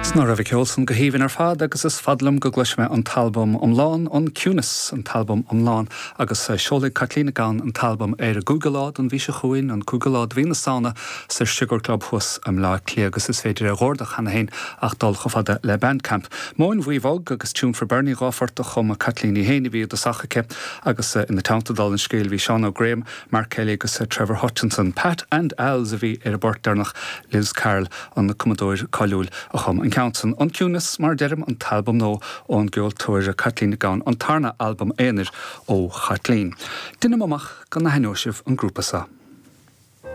'S ná raibh an ceol san go haoibhinn ar fad agus is fada liom go gcloisfidh mé an t-albam iomlán, An Ciúnas, an t-albam iomlán agus seolfaidh Caitlín Nic Gabhann an t-albam ar an gcúigiú lá den mhí seo chugainn, an cúigiú lá de mhí na Samhna sa Sugar Club thuas i mBleá Cliath agus is féidir é a dh'ordach cheana féin ach dul chomh fada le Bandcamp. Móin Bhuí Bhog agus Tune for Bernie, 2 phort a chum Caitlín í féin a bhí i dtosach aici agus ina teannta dála an scéil bhí Seán Ó Graham, Mark Kelly agus Trevor Hutchinson. Pat and Al's a bhí ar an bport deireanach, Liz Carroll, an cumadóir cáiliúil, a chum an ceann san. An Ciúnas, mar a deirim, an t-albam nua ón gceoltóir Caitlín Nic Gabhann, an tarna albam aonair ó Chaitlín. Deinim amach go n-aithneoidh sibh an grúpa seo.